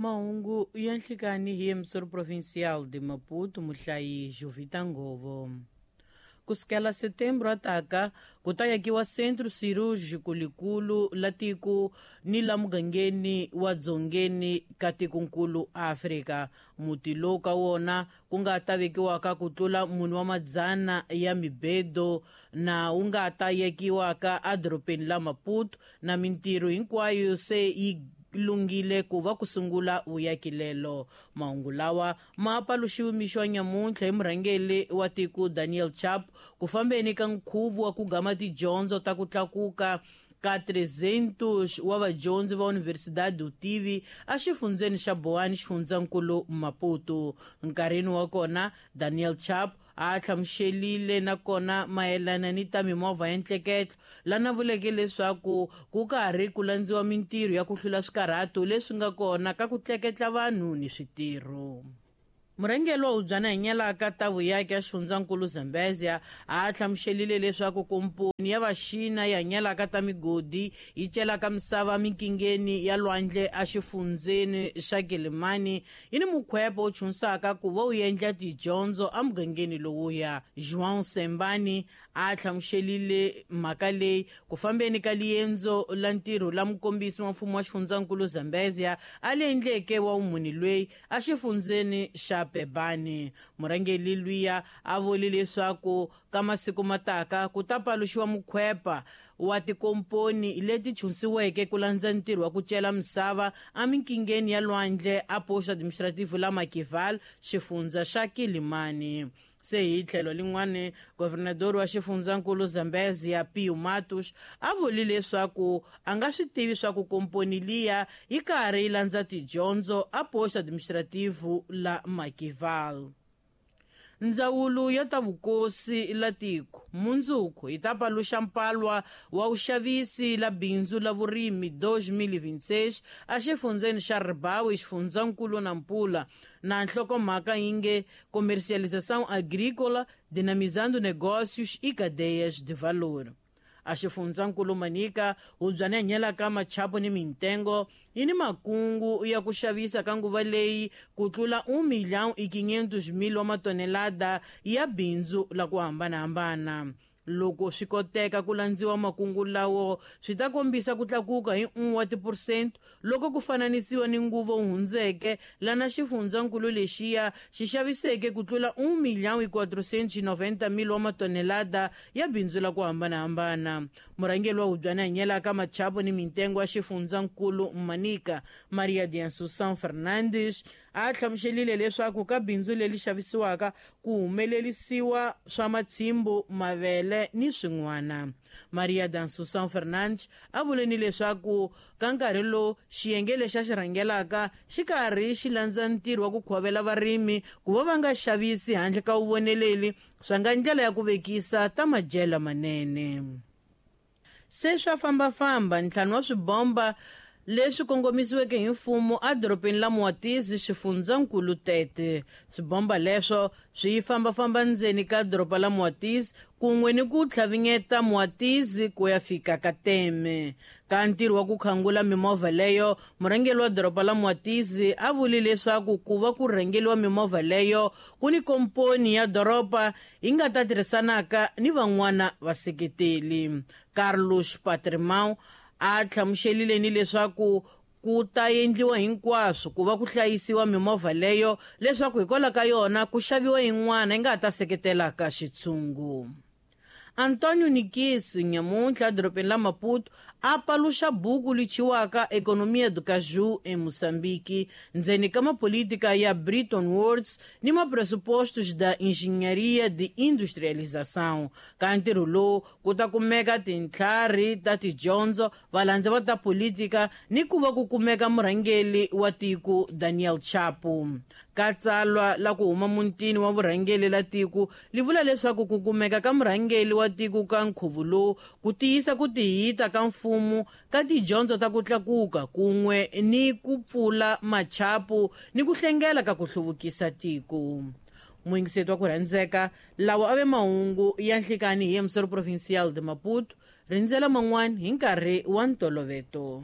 Mahungu ya nhlikani hi emissor provincial de Maputo, muhlayi Jovita Ngovo. Ku sukela setembro ataka ku ta yakiwa centro cirúrgico likulu la tiko ni la mugangeni wa dzongeni ka tikonkulu Afrika. Muti lowu ka wona ku nga ta vekiwaka ku tlula mune wa madzana ya mibedo na wu nga ta yakiwaka edorobeni la Maputo, na mintirho hinkwayo se yi lunghile ku va ku sungula vuyakilelo. Mahungu lawa ma paluxiwe mixo wa nyamuntlha hi murhangeri wa tiko Daniel Chapo ku fambeni ka nkhuvo wa ku gama tidyondzo ta ku tlakuka ka 300 wa vadyondzi va Universidade Utivi exifundzeni xa Boane, xifundzankulu Maputo. Nkarhini wa kona Daniel Chapo a hlamuselile nakona mayelana ni ta mimovha ya ntleketlo, lana vuleke leswaku ku karhi ku landziwa mintirho ya ku hlula swikarhato leswi nga kona ka ku tleketla vanhu ni switirho. Murhangeri wa hubyana hinyalaka ta vuyaki ya xifundzankulu Zambezia a hlamuselile leswaku komponi ya vaxina yi hanyelaka ta migodi yi celaka misava minkingeni ya lwandle exifundzeni xa Kilimani yi ni mukhwepo wu chunsaka ku va wu endla tidyondzo emugangeni lowuya. João Sembani a hlamuselile mhaka leyi ku fambeni ka liendzo la ntirho la mukombisi wa mfumo wa xifundzankulu Zambezia a li endleke wa vumuni lweyi exifundzeni xa Pebani. Murhangeri luya a vule leswaku ka masiku mataka ku ta paluxiwa mukhwepa wa tikomponi leti chunsiweke ku landza ntirho wa ku cela misava eminkingeni ya lwandle a posto administrativo la Makival, xifundza xa Kilimani. Se hi tlhelo lin'wani, governador wa xifundzankulu Zambezia Pio Matos a vule leswaku a nga swi tivi swa ku komponi liya yi karhi yi landza tidyondzo a posto administrativo la Makival. Ndzawulo ya ta vukosi la tiko mundzuku yi ta paluxa mpalwa wa vuxavisi la bindzu la vurimi 2026 exifundzeni xa Ribawi, xifundzankulu Nampula, na nhlokomhaka yi nge Comercialização Agrícola, Dinamizando Negócios e Cadeias de Valor. A xifundzankulu Manika, hubyana hanyelaka machapo ni mintengo yi ni makungu ya ku xavisa ka nguva leyi ku tlula 1,5 milhão wa matonelada ya bindzu la ku hambanahambana. Loko swi koteka ku landziwa makungu lawo, swi ta kombisa ku tlakuka hi 1 wa tiphurosente loko ku fananisiwa ni nguva wu hundzeke, lana xifundzankulu lexiya xi xaviseke ku tlula 1,490 milhão wa matonelada ya bindzu la ku hambanahambana. Murhangeri wa hubyana hanyelaka machapo ni mintengo ya xifundzankulu Manika, Maria de Assunção Fernandes, a hlamuselile leswaku ka bindzu leri xavisiwaka ku humelerisiwa swa matshimbu, mavele ni swin'wana. Maria de Assunção Fernandes a vule ni leswaku ka nkarhi lowu xiyenge lexi a xi rhangelaka xi karhi xi landza ntirho wa ku khovela varimi ku va va nga xavisi handle ka vuvoneleli, swa nga ndlela ya ku vekisa ta madyelo manene. Se swa fambafamba ntlhanu wa swibomba leswi kongomisiweke hi mfumo edorobeni la Moatize, xifundzankulu Tete. Swibomba leswo swi fambafamba ndzeni ka doroba la Moatize kun'we ni ku tlhavinyeta Moatize ku ya fika ka Teme. Ka ntirho wa ku khangula mimovha leyo, murhangeri wa doroba la Moatize a vule leswaku ku va ku rhangeriwa mimovha leyo ku ni komponi ya doroba yi nga ta tirhisanaka ni van'wana vaseketeli. Carlos Patrimão a hlamuselile ni leswaku ku ta endliwa hinkwaswo ku va ku hlayisiwa mimovha leyo leswaku hikwalaho ka yona ku xaviwa yin'wana yi nga ta seketelaka xitshungu. Antonio Nikisi nyamuntlha edorobeni la Maputo a paluxa buku lichiwaka Economia do Caju em Moçambique, ndzeni ka mapolítica ya Bretton Woods ni mapressupostos da engenharia de industrialização. Ka ntirho lowu ku ta kumeka tintlhari ta tidyondzo, valandzi va ta politika ni ku va ku kumeka murhangeri wa tiko Daniel Chapo. Ka tsalwa la ku huma mutini wa vurhangeri la tiko li vula leswaku ku kumeka ka murhangeri wa tiko ka nkhuvo lowu ku tiyisa ku tihita ka mfumo ka tidyondzo ta ku tlakuka kun'we ni ku pfula machapu ni ku hlengela ka ku hluvukisa tiko. Muyingiseti wa ku rhandzeka, lawa a ve mahungu ya nhlikani hi emissor provincial de Maputo. Rindzela man'wana hi nkarhi wa ntoloveto.